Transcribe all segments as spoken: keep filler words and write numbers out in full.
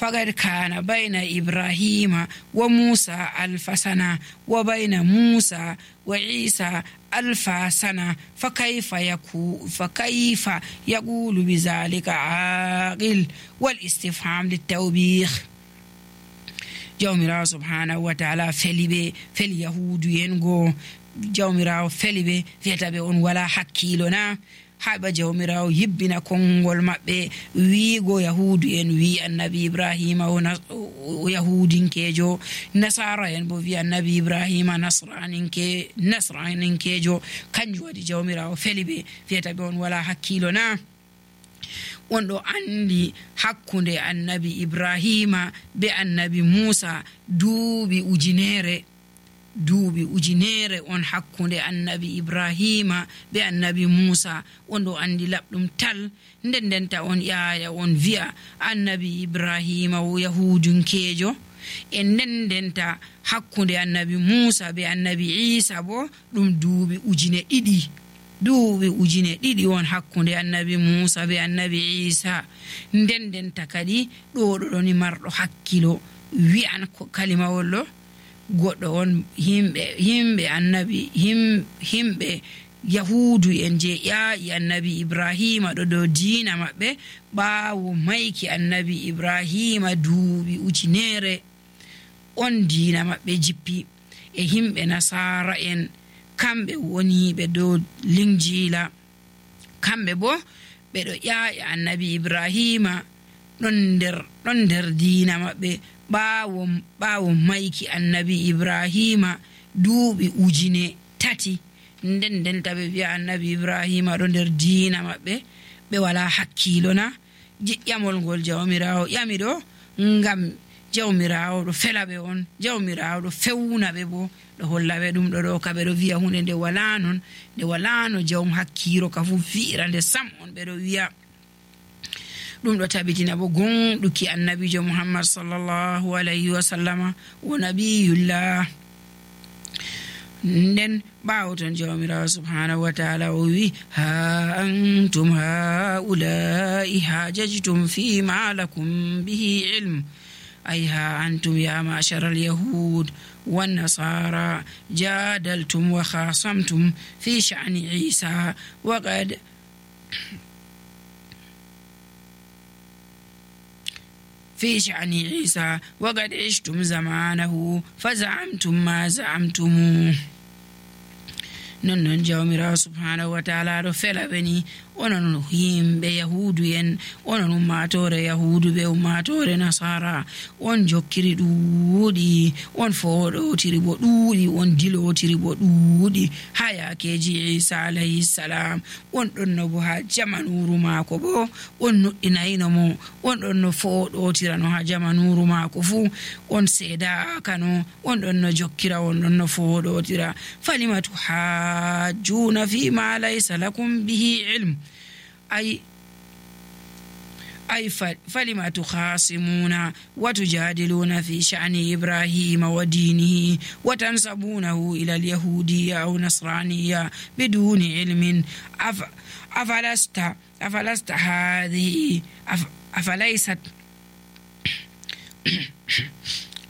فقد كان بين إبراهيم وموسى ألف سنة وبين موسى وعيسى ألف سنة فكيف يكون فكيف يقول بذلك عاقل والاستفهام للتوبيخ. jawmirawo subhanahu wa ta'ala felibe fel yahudu yengo jawmirawo felibe fiyatabe on wala hakkilo na haɓa jawmirawo yibbina konngol maɓɓe wiigo yahudu en wi annabi ibrahima o yahudinkejo nasara en bo wi annabi ibrahima nasraninke nasraninkejo kanjum waɗi jawmirawo felibe fiyatabe on wala hakkilo na on ɗo andi hakkunde annabi ibrahima be annabi musa duuɓi ujunere duuɓi ujunere on hakkunde annabi ibrahima be annabi musa on ɗo andi laɓɗum tal nden ndenta on ƴaaya on wi'a annabi ibrahima o yahudunkejo e nden ndenta hakkunde annabi musa be annabi isa bo ɗum duuɓi ujune ɗiɗi duuɓi ujune ɗiɗi on hakkunde annabi musa be annabi isa nden ndenta kadi ɗo ɗoɗoni marɗo hakkilo wi'an kalimawol ɗo goɗɗo on himɓe himɓe annabi him, himɓe yahudu en je ƴaaƴi annabi ibrahima ɗo dow diina maɓɓe ɓaawo mayki annabi ibrahima duuɓi ujunere on diina maɓɓe jippi e himɓe nasara en kamɓe woniɓe dow linjila kamɓe bo ɓeɗo ƴaaƴa annabi ibrahima ɗon nder ɗon nder diina maɓɓe ɓaawo ɓaawo mayki annabi ibrahima duuɓi ujune tati nden ndenta ɓe wi'a annabi ibrahima ɗo nder diina maɓɓe ɓe wala hakkilo na ƴamol ngol jawmirawo ƴami ɗo ngam jawmirawo ɗo felaɓe on jawmirawo ɗo fewnaɓe bo ɗo hollaɓe ɗum ɗo ɗo ka ɓeɗo wi'a hunde nde wala non nde wala no jawm hakkiro ka fu fi'ira nde sam on ɓeɗo wi'a ɗum ɗo tabitina bo gonɗuki annabijo muhammad sallallahu alayhi wa sallama o nabiyullah nden ɓawo ton jawmirawo subhanahu wa ta'ala o wi ha antum haulai hajajtum fima lakum bihi ilm أي ها أنتم يا معشر اليهود والنصارى جادلتم وخاصمتم في شأن عيسى وقد في شأن عيسى وقد عشتم زمانه فزعمتم ما زعمتموه non non jawmirawo subhanahu wa ta'ala ɗo felaɓe ni onon yimɓe yahudu en onon ummatore yahudu ɓe ummatore nasara on jokkiri ɗuuɗi on foɗotiri bo ɗuuɗi on dilotiri bo ɗuuɗi ha yakeji isa alayhi salam on ɗon no bo ha jamanuru maako bo on nuɗɗinayno mo on ɗon no foɗotirano ha jamanuru maako fu on seedakano on ɗon no jokkira on ɗon no foɗotira falimatu ha جون فيما ليس لكم به علم أي أي فلما تخاصمون وتجادلون في شأن إبراهيم ودينه وتنسبونه إلى اليهودية أو نصرانية بدون علم أف أفلست أفلست هذه أف أفليست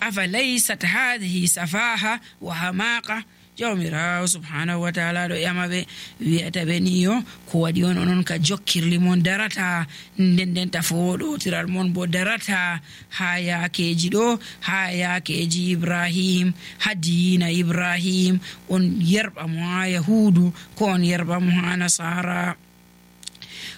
أفليست هذه سفاهة وحماقة jawmirawo subhanahu wa ta'ala ɗo ƴamaɓe wi'ata ɓe niyo ko waɗi on onon ka jokkirli mon darata nden ndenta foɗotiral mon bo darata ha yakeji ɗo ha yakeji ibrahim ha diina ibrahim on yerɓa mo ha yahudu ko on yerɓa mo ha nasara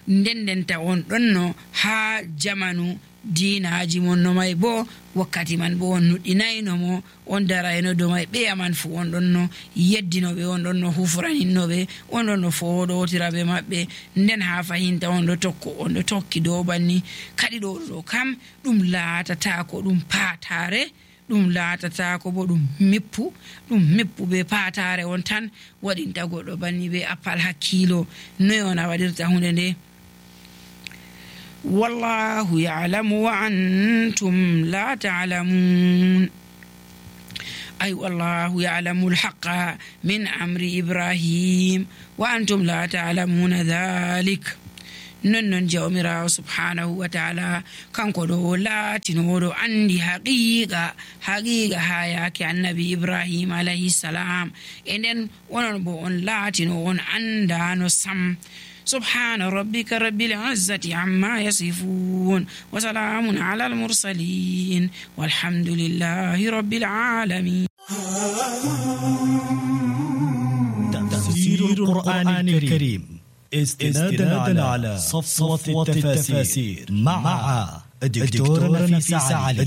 nden ndenta on ɗonno ha jamanu diinaji mon no may bo wakkati man bo on nuɗɗinayno mo on darayno do may ɓeya man fu on ɗon no yeddinoɓe on ɗon no hufraninnoɓe on ɗon no foɗotiraɓe maɓɓe nden ha fahinta on ɗo tokko on ɗo tokki dow banni kadi ɗo ɗo kam ɗum laatata ko ɗum patare ɗum laatata ko bo ɗum mippu ɗum mippu be patare on tan waɗinta goɗɗo banni be appal hakkilo noy on a waɗirta hunde nde والله يعلم وأنتم لا تعلمون أي والله يعلم الحق من أمر إبراهيم وأنتم لا تعلمون ذلك non non jawmirawo subhanahu wa ta'ala kanko ɗo laatinoɗo andi haqiqa haqiqa ha yake annabi ibrahim alayhi salam e nden onon bo on laatino on andano sam. سبحان ربك رب العزة عما يصفون وسلام على المرسلين والحمد لله رب العالمين. تفسير القرآن الكريم استنادا على صفوة التفاسير مع الدكتورة نفيسة علي.